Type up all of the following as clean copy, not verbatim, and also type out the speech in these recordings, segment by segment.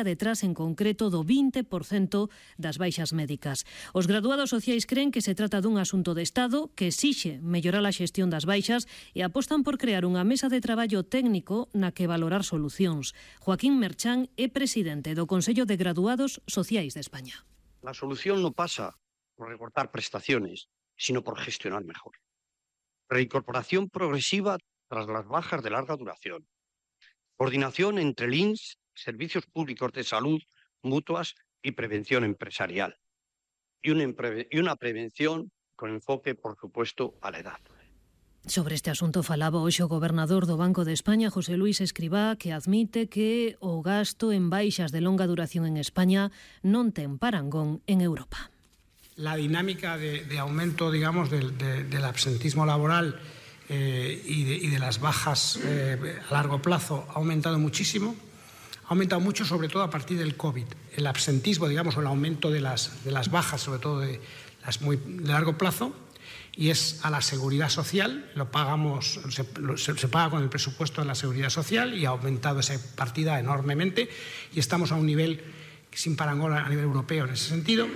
detrás en concreto do 20% das baixas médicas. Os graduados sociais creen que se trata dun asunto de Estado que exixe mellorar a xestión das baixas e apostan por crear unha mesa de traballo técnico na que valorar solucións. Joaquín Merchán é presidente do Consello de Graduados Sociais de España. La solución no pasa por recortar prestaciones, sino por gestionar mejor. Reincorporación progresiva tras las bajas de larga duración. Coordinación entre el INS, servicios públicos de salud, mutuas y prevención empresarial. Y una prevención con enfoque, por supuesto, a la edad. Sobre este asunto falaba hoxe o gobernador do Banco de España, José Luis Escribá, que admite que o gasto en baixas de longa duración en España non ten parangón en Europa. La dinámica de aumento, digamos, del absentismo laboral y de las bajas a largo plazo ha aumentado muchísimo. Ha aumentado mucho, sobre todo a partir del COVID. El absentismo, digamos, o el aumento de las bajas, sobre todo de las muy de largo plazo, y es a la seguridad social, lo pagamos, se paga con el presupuesto de la seguridad social y ha aumentado esa partida enormemente y estamos a un nivel sin parangón a nivel europeo en ese sentido.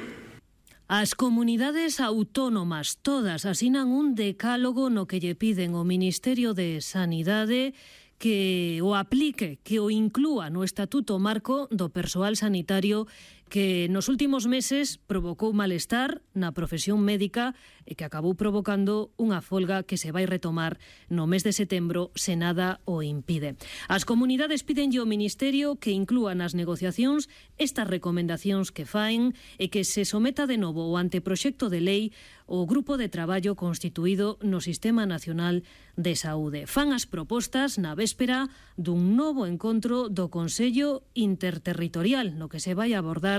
As comunidades autónomas todas asinan un decálogo no que lle piden ao Ministerio de Sanidade que o aplique, que o inclúa no Estatuto Marco do Persoal Sanitario que nos últimos meses provocou malestar na profesión médica e que acabou provocando unha folga que se vai retomar no mes de setembro se nada o impide. As comunidades pídenlle ao Ministerio que inclúa nas negociacións estas recomendacións que faen e que se someta de novo o anteproxecto de lei o grupo de traballo constituído no Sistema Nacional de Saúde. Fan as propostas na véspera dun novo encontro do Consello Interterritorial no que se vai abordar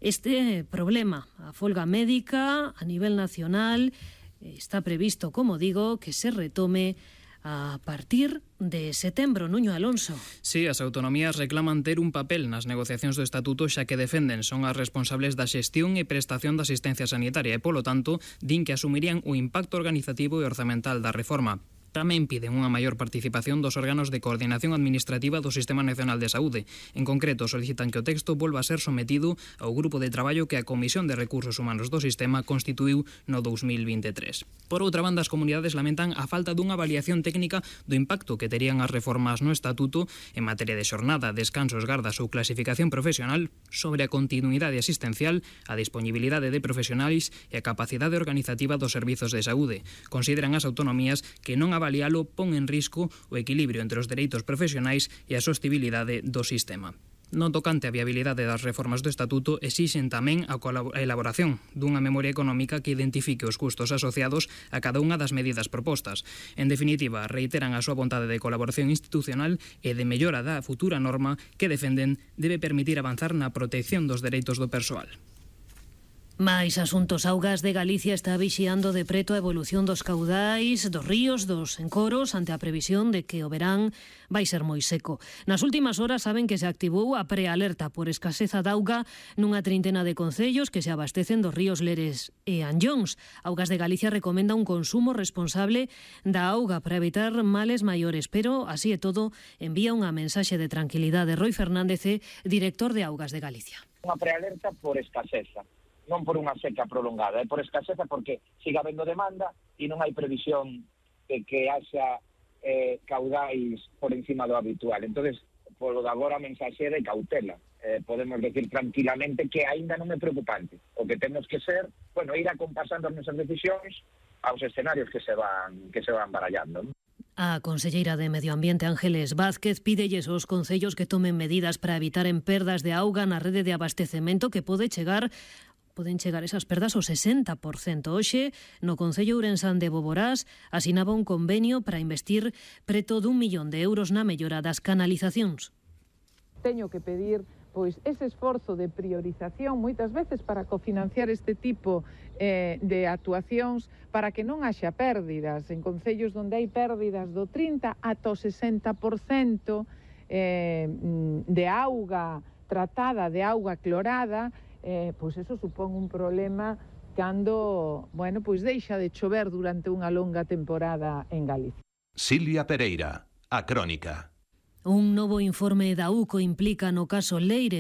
este problema. A folga médica a nivel nacional está previsto, como digo, que se retome a partir de setembro. Nuño Alonso. Sí, as autonomías reclaman ter un papel nas negociacións do Estatuto xa que defenden son as responsables da xestión e prestación da asistencia sanitaria e, polo tanto, din que asumirían o impacto organizativo e orzamental da reforma. Tamén piden unha maior participación dos órganos de coordinación administrativa do Sistema Nacional de Saúde. En concreto, solicitan que o texto volva a ser sometido ao grupo de traballo que a Comisión de Recursos Humanos do Sistema constituíu no 2023. Por outra banda, as comunidades lamentan a falta dunha avaliación técnica do impacto que terían as reformas no Estatuto en materia de xornada, descansos, gardas ou clasificación profesional sobre a continuidade asistencial, a disponibilidade de profesionais e a capacidade organizativa dos servizos de saúde. Consideran as autonomías que non avalialo pon en risco o equilibrio entre os dereitos profesionais e a sostibilidade do sistema. No tocante á viabilidade das reformas do Estatuto, exixen tamén a elaboración dunha memoria económica que identifique os custos asociados a cada unha das medidas propostas. En definitiva, reiteran a súa vontade de colaboración institucional e de mellora da futura norma que defenden debe permitir avanzar na protección dos dereitos do persoal. Mais asuntos. Augas de Galicia está vixiando de preto a evolución dos caudais dos ríos, dos encoros, ante a previsión de que o verán vai ser moi seco. Nas últimas horas saben que se activou a prealerta por escaseza de auga nunha trintena de concellos que se abastecen dos ríos Leres e Anllóns. Augas de Galicia recomenda un consumo responsable da auga para evitar males maiores, pero, así e todo, envía unha mensaxe de tranquilidade. Roy Fernández, director de Augas de Galicia. Unha prealerta por escaseza, non por unha seca prolongada, é por escaseza porque siga habendo demanda e non hai previsión de que haxa caudais por encima do habitual. Entonces, polo de agora a mensaxe de cautela. Podemos decir tranquilamente que aínda non é preocupante. O que temos que ser, ir acompasando as nosas decisións aos escenarios que se van barallando, ¿no? A conselleira de Medio Ambiente, Ángeles Vázquez, pídelles aos concellos que tomen medidas para evitar perdas de auga na rede de abastecemento que poden chegar esas perdas ao 60%. Hoxe, no Concello Ourensán de Boborás, asinaba un convenio para investir preto d1 millón de euros na mellora das canalizacións. Teño que pedir ese esforzo de priorización moitas veces para cofinanciar este tipo de actuacións para que non haxa pérdidas en concellos onde hai pérdidas do 30 ata o 60% de auga tratada, de auga clorada. Eso supón un problema cando, deixa de chover durante unha longa temporada en Galicia. Silvia Pereira, A Crónica. Un novo informe da UCO implica no caso Leire